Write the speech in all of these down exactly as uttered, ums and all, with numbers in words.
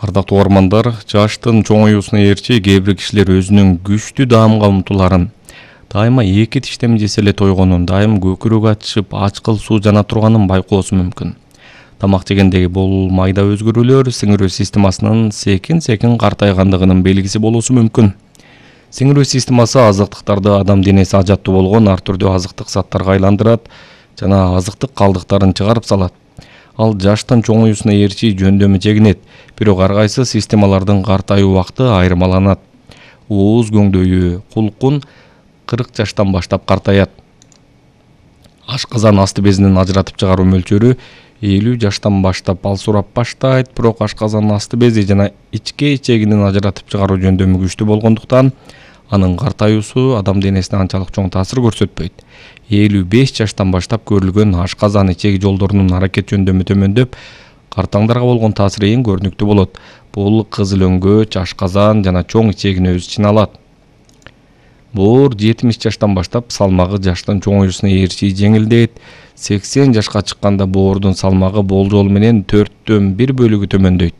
Ардактуу угармандар, жаштын чоңоюусуна ээрчи кээ бир кишилер өзүнүн күчтүү даамга умтуларын, дайыма эки тиштем жесе эле тойгонун, дайым көкүрөк ачышып, ачкыл суу жана турганын байкоосу мүмкүн. Тамак жегендеги бул майда өзгөрүүлөр сиңирүү системасынын секин-секин картайгандыгынын белгиси болуусу мүмкүн. Сиңирүү системасы азыктыктарды адам денеси ажаттуу болгон ар түрдүү азыктык заттарга айландырат жана азыктык калдыктарын чыгарып салат. Ал жаштын чоңоюусуна ээрчи жөндөмү чегинет, бирок ар кайсы системалардын картайуу убакыты айырмаланат. Ооз көңдөйү, кулкун кырк жаштан баштап картаят. Ашказан асты безинин ажыратып чыгаруу мөлчөрү элүү жаштан баштап алсурап баштайт, бирок ашказан асты бези жана ичке ичегинин ажыратып чыгаруу жөндөмү күчтүү болгондуктан анын картаюусу адам денесине анчалык чоң таасир көрсөтпөйт. элүү беш жаштан баштап көрүлгөн ашказан ичеги жолдорунун аракет жөндөмү төмөндөп, картаңдарга болгон таасири эң көрүнүктүү болот. Бул кызыл өңгөч, ашказан жана чоң ичегин өз ичине алат. Боор жетимиш жаштан баштап салмагы жаштын чоңоюусуна ээрчи жеңилдейт. сексен жашка чыкканда боордун салмагы болжол менен төрттөн бир бөлүгү төмөндөйт.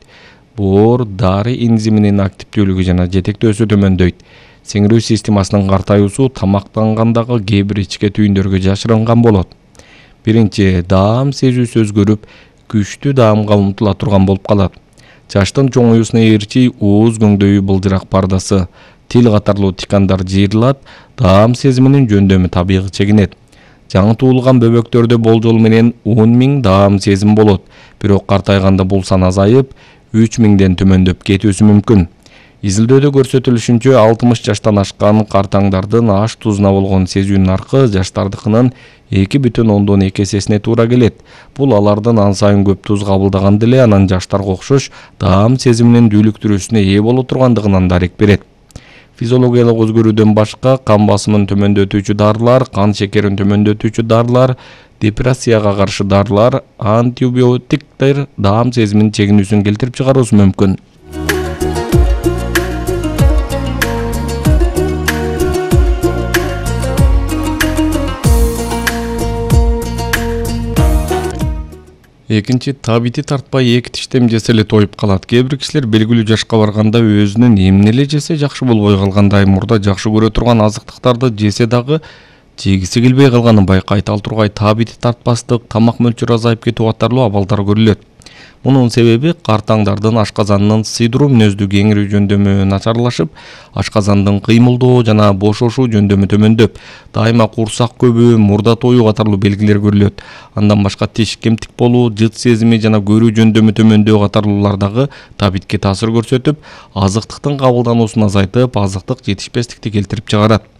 Боор дары энзиминин активдүүлүгү жана жетектөөсү төмөндөйт. Сиңирүү системасынын картаюусу тамактангандагы кээ бир ичке түйүндөргө жашырынган болот. Биринчи, даам сезүүсү өзгөрүп, күчтүү даамга умтула турган болуп калат. Жаштын чоңоюусуна ээрчи ооз көңдөйү былжырак пардасы, тил катарлуу тикандар жыйырылат, даам сезиминин жөндөмү табигый чегинет. Жаңы туулган бөбөктөрдө болжол менен он миң даам сезим болот, бирок картайганда бул сан азайып, үч миңден төмөндөп кетүүсү мүмкүн. Изилдөөдө көрсөтүлүшүнчө, алтымыш жаштан ашкан картаңдардын аш тузуна болгон сезүү наркы жаштардыкынын эки бүтүн ондон эки эсесине туура келет. Бул алардын ан сайын көп туз кабылдаганда эле анан жаштарга окшош даам сезиминин дүүлүктүрүүсүнө ээ боло тургандыгынан дарек берет. Физиологиялык өзгөрүүдөн башка кан басымын төмөндөтүүчү дарылар, кан шекерин төмөндөтүүчү дарылар, депрессияга каршы дарылар, антибиотиктер даам сезиминин чегинүүсүн келтирип чыгаруусу мүмкүн. Экинчи, табити тартпай эки тиштем жесе эле тоюп калат. Кээ бир кишилер белгилүү жашка барганда өзүнүн эмне эле жесе жакшы болбой калгандай, мурда жакшы көрө турган азыктыктарды жесе дагы жегиси келбей калганын байкайт. Ал тургай табити тартпастык, тамак мөлчөрү азайып кетүү катарлуу абалдар көрүлөт. Мунун себеби картаңдардын ашказанынын сыйдыруу мүнөздүү кеңирүү жөндөмү начарлашып, ашказандын кыймылдоо жана бошошуу жөндөмү төмөндөп, дайыма курсак көбүү, мурда тоюу катарлуу белгилер көрүлөт. Андан башка тиш кемтик болуу, жыт сезими жана көрүү жөндөмү төмөндөө катарлуулар дагы табитке таасир көрсөтүп, азыктыктын кабылдануусун азайтып, азыктык жетишпестикти келтирип чыгарат.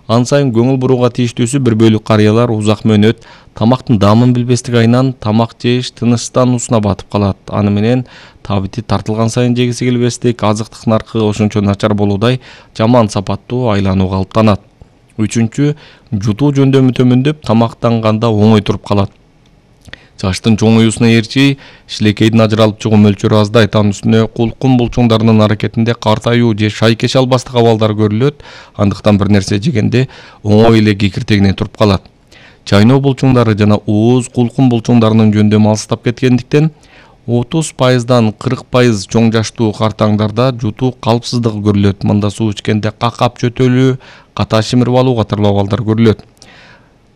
Ан сайын көңүл бурууга тийиштүүсү бир бөлүк карыялар узак мөөнөт тамактын даамын билбестик айынан тамак жеш тынычтануусуна батып калат. Аны менен табити тартылган сайын жегиси келбестик, азыктык наркы ошончо начар болуудай жаман сапаттуу айлануу калыптанат. Үчүнчү, жутуу жөндөмү төмөндөп, тамактанганда оңой туруп калат. Жаштын чоңоюусуна ээрчи шилекейдин ажыралып чыгуу мөлчөрү аздайт, анын үстүнө кулкун булчуңдарынын аракетинде картаюу же шайкеш албастык абалдар көрүлөт, андыктан бир нерсе жегенде оңой эле кекиртегине туруп калат. Чайноо булчуңдары жана ооз кулкун булчуңдарынын жөндөмү алыстап кеткендиктен отуз пайыздан кырк пайыз чоң жаштуу картаңдарда жутуу калпсыздыгы көрүлөт. Мында суу ичкенде какап чөтөлүү, ката шимирип алуу катарлуу абалдар көрүлөт.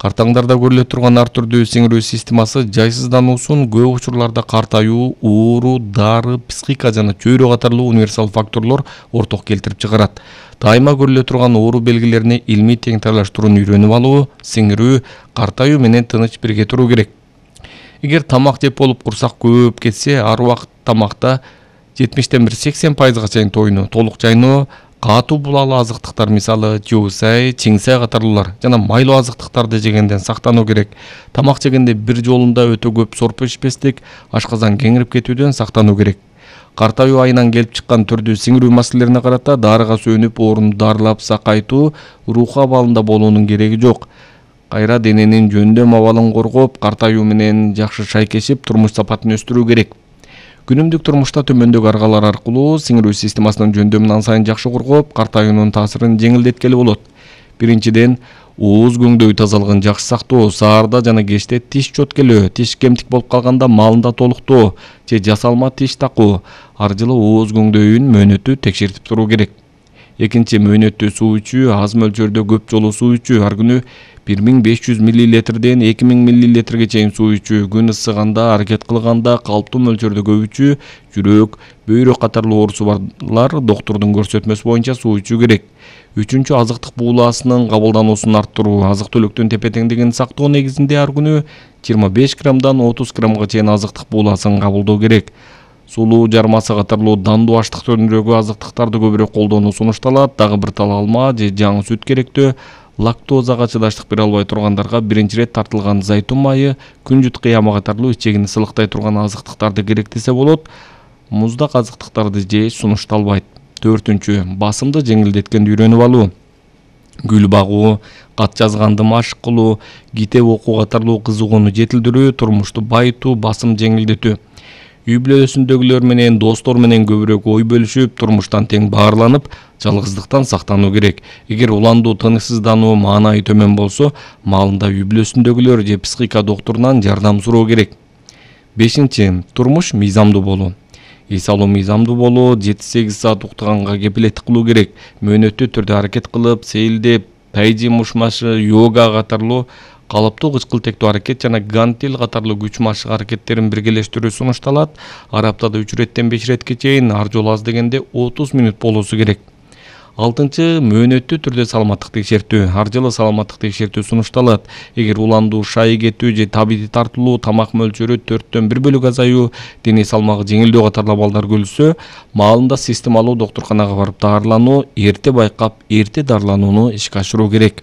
Картаңдарда көрүлө турган ар түрдүү сиңирүү системасы жайсыздануусун көп учурларда картаюу, оору, дары, психика жана чөйрө катарлуу универсал факторлор орток келтирип чыгарат. Дайыма көрүлө турган оору белгилерине илмий тең тайлаштырууну үйрөнүп алуу, сиңирүү, картаюу менен тыныч бирге туруу керек. Эгер тамак жеп болуп курсак көп кетсе, ар убакыт тамакта жетимиштен бир сексен пайызга чейин тойуну, толук жайноо, катуу булалы азыктыктар мисалы жуусай, чиңсай катарлуулар жана майлуу азыктыктарды жегенден сактануу керек. Тамак жегенде бир жолунда өтө көп сорпо ичпестик, ашказан кеңирип кетүүдөн сактануу керек. Картаюу айынан келип чыккан түрдүү сиңирүү маселелерине карата дарыга сүйөнүп, орунду дарылап сакайтуу, руху абалында болуунун кереги жок. Кайра дененин жөндөм абалын коргоп, картаюу менен жакшы шайкешип, турмуш сапатын өстүрүү керек. Күнүмдүк турмушта төмөндөгү аргалар аркылуу сиңирүү системасынын жөндөмүн ан сайын жакшы коргоп, картаюунун таасирин жеңилдеткели болот. Биринчиден, ооз көңдөй тазалыгын жакшы сактоо, саарда жана кечте тиш чөткөлөө, тиш кемтик болуп калганда маалында толуктоо же жасалма тиш такуу, ар жылы ооз көңдөйүн мөөнөтү текшертип туруу керек. Экинчи, мөөнөттүү суу ичүү, аз мөлчөрдө көп жолу суу ичүү, ар күнү бир миң беш жүз миллилитрден эки миң миллилитрге чейин суу ичүү, күн ысыганда, аракет кылганда калыптуу мөлчөрдө көп ичүү, жүрөк, бөйрөк катарлуу оорусу барлар доктурдун көрсөтмөсү боюнча суу ичүү керек. Үчүнчү, азыктык буулаасынын кабылдаnuусун арттыруу, азык-түлүктүн тепе-теңдигин сактоо негизинде ар күнү жыйырма беш граммдан отуз граммга чейин азыктык буулаасын кабылдоо керек. Сулуу, жармасы катарлуу дандуу аштык түрүндөгү азыктыктарды көбүрөөк колдонуу сунушталат. Дагы бир тал алма же жаңы сүт керектөө. Лактозага чыдаштык бере албай тургандарга биринчи ирет тартылган зайтун майы, күнжүт кыямы катарлуу ичегин ысылыктай турган азыктыктарды керектесе болот. Муздак азыктыктарды жеш сунушталбайт. Төртүнчү, басымды жеңилдеткенди үйрөнүп алуу. Гүл багуу, кат жазганды машык кылуу, китеп окуу катарлуу кызыгууну жетилдирүү, турмушту байытуу, басым жеңилдетүү. Үй бүлөсүндөгүлөр менен, достор менен көбүрөөк ой бөлүшүп, турмуштан тең баарланып, жалгыздыктан сактануу керек. Эгер уландуу, тынычсыздануу маанайы төмөн болсо, маалында үй бүлөсүндөгүлөр же психика доктурунан жардам суроо керек. Бешинчи, турмуш мыйзамдуу болуу. Эс алуу мыйзамдуу болуу, жети сегиз саат уктаганга кепилеттик кылуу керек. Мөөнөттүү түрдө аракет кылып, сейилдеп, тайжи мушмашы, йога катарлуу калыптуу кычкыл-тектүү аракет жана гантель катарлуу күч машык аракеттерин биргелештирүү сунушталат. Ар аптада үч иреттен беш иретке чейин, ар жолу аз дегенде отуз мүнөт болуусу керек. Алтынчы, мөөнөттүү түрдө саламаттык текшертүү. Ар жылы саламаттык текшертүү сунушталат. Эгер уландуу, шай кетүү же табити тартылуу, тамак мөлчөрү төрттөн бир бөлүк азаюу, дене салмагы жеңилдөө катарлуу абалдар көрүлсө, маалында системалуу доктурканага барып даарылануу, эрте байкап, эрте дарыланууну ишке ашыруу керек.